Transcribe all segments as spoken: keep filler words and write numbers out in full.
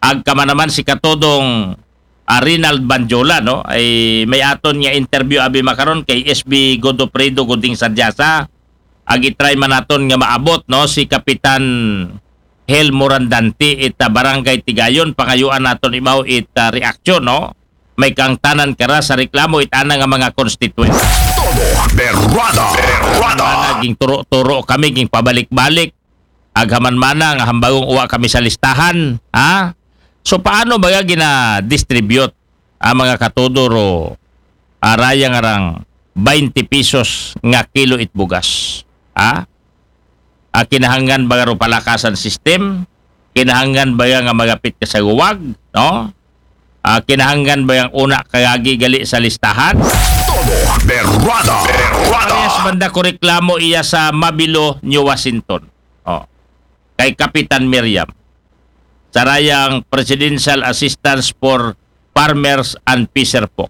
Agka man naman si Katodong, ah, Rinald Banjola, no? Ay may aton nga interview abi makaron kay S B Godofredo Guding Sadyasa. Ag i-try man naton nga maabot, no, si Kapitan Hel Morandante it, ah, Barangay Tigayon, pangayuan naton imaw it, ah, reaksyon, no? May kaangtanan kara sa reklamo it ana nga mga constituent. Todo berrada, berrada. Mana ging turo-turo kami, ging pabalik-balik. Aghaman mana nga hambagong uwa kami sa listahan, ha? So paano ba gina-distribute ang mga katudor o araya nga rang twenty pesos nga kilo it bugas? Ha? Ah, kinahanglan ba ro palakasan system? Kinahanglan ba nga magapit ka sa guwag, no? Ah, kinahanglan ba yang una kagagi gali sa listahan? Todo berrada, berrada. Parehas banda ko reklamo iya sa Mabilo, New Washington. Oh. Kay Kapitan Miriam. Sarayang Presidential Assistance for Farmers and Fisher Folk.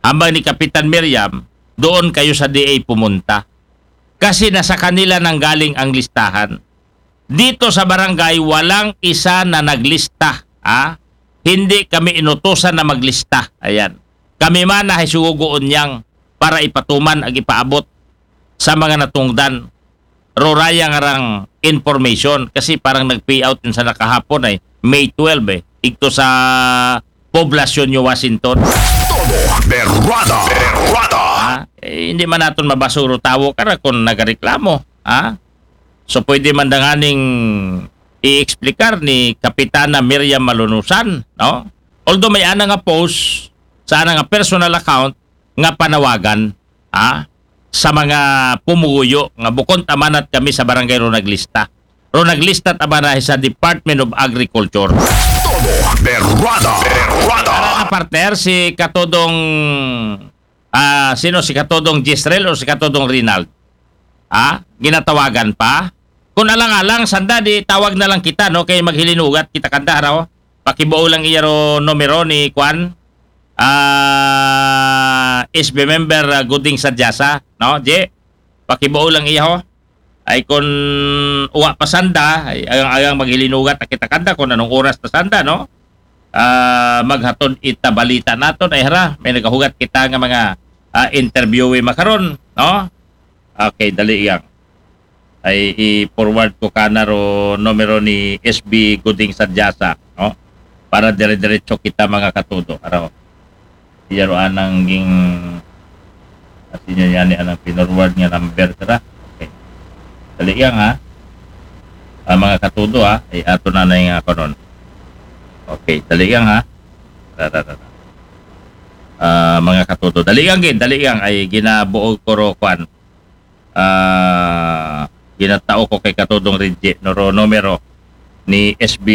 Hambang ni Kapitan Miriam, doon kayo sa D A pumunta. Kasi nasa kanila nang galing ang listahan. Dito sa barangay, walang isa na naglista. Ha? Hindi kami inutusan na maglista. Ayan. Kami man na hisuguon niyang para ipatuman ag ipaabot sa mga natungdan. Roraya nga rang information kasi parang nag-pay out yun sa nakahapon ay May twelve eh. Igto sa Poblacion, New Washington. Todo berrada, berrada. Ha? Eh, hindi man naton mabasuro tawo kara kung nagareklamo. Ha? So pwede man danganing i-explicar ni Kapitana Miriam Malunusan, no? Although may ana nga post sa ana nga personal account nga panawagan, ha, sa mga pumuguyo nga bukon tamanat kami sa barangay ro naglista. Ro naglista tamana sa Department of Agriculture. Todo berrada, berrada. Para na partner si Katodong, ah, sino, si Katodong Jezreel o si Katodong Rinald? Ha? Ginatawagan pa? Kung alang-alang sanda di tawag na lang kita, no, kay maghilinugat kita kanda raw. Pakibuo lang iya ro numero ni Kwan, ah, S B member, ah, Guding Sadyasa, no, Je? Pakibuo lang iya ho. Ay kun uwa pa sanda, ay agang-agang maghilinugat na kita kanda kung anong oras na sanda, no? Ah, maghatod ita balita naton ay hara, may nagahugat kita nga mga, ah, interview makaron, no? Okay, dali yang. Ay i-forward ko kana ro numero ni S B Guding Sadyasa, no? Para dire-diretso kita mga katudo. Araw. Iya ro anang ging asin niya yani anang pinorward nga number tara. Okay. Dali yang ha. Ah, mga katudo ha. Ay ato na na yung ako nun. Okay, dali yang ha. Tara, tara, tara. Ah, mga katudo. Dali yang gid, dali yang ay ginabuo ko ro kwan. Ah, ginatao ko kay Katudong Reggie, no, ro numero ni S B,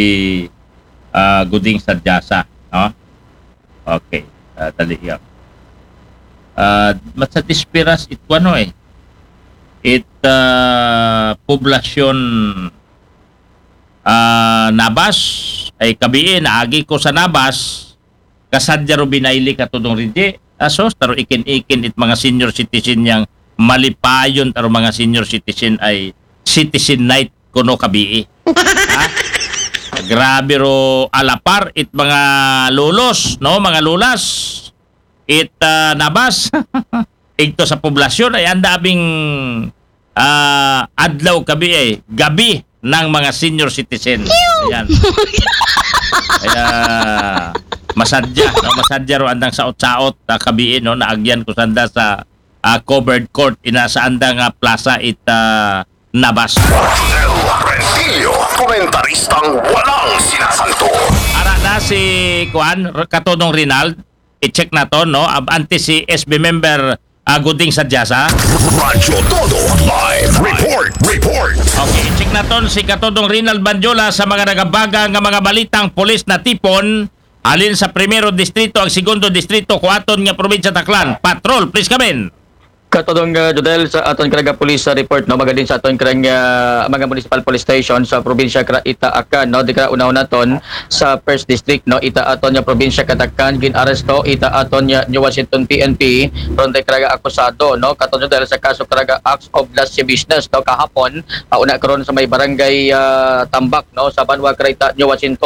ah, Guding Sadyasa, no? Okay, ah, dali yan. Ah, matsa dispiras it kuano eh. It, ah, poblasyon, ah, Nabas, ay kabii, naagi ko sa Nabas, kasadya ro binayli Katudong Reggie. Asos, taro ikin-ikin it mga senior citizen yang malipayon taro mga senior citizen ay citizen night kuno kabii. Ha? Grabe ro alapar it mga lolos, no, mga lolas. It, ah, Nabas. Igto sa poblasyon ay anda abing, ah, adlaw kabii ay gabi ng mga senior citizen. Ayan. Kaya masadya, no? Masadya ro andang saot-saot, ah, kabii, no? Naagyan ko sanda sa, ah, covered court, ina sa andang, ah, plaza it, ah, Nabas. Rodel Rentillo, komentaristang walang sinasanto. Ara na si Kuan, Katodong Rinald, i-check naton, no? Ab-, antes si S B member, ah, Guding Sadyasa. Radyo Todo Live Report, Report. Okay, i-check naton si Katodong Rinald Banjola sa mga nagabaga nga mga balitang pulis na tipon alin sa primero distrito ang segundo distrito kuaton nga probinsya Taclan. Patrol, please come in. Katodong, uh, Jodel, sa aton karaga police, uh, report, no, magadin sa aton karang, uh, mga municipal police station sa probinsya kara ita Acan, no, di kara unaw naton sa first district, no, ita aton nga probinsya ka Taclan, gin-aresto ita aton nga New Washington P N P, ron di karaga akusado, no, katodong Jodel, sa kaso karaga acts of lasciviousness, no, kahapon, uh, una karon sa may barangay, uh, Tambak, no, sa banwa kara ita New Washington.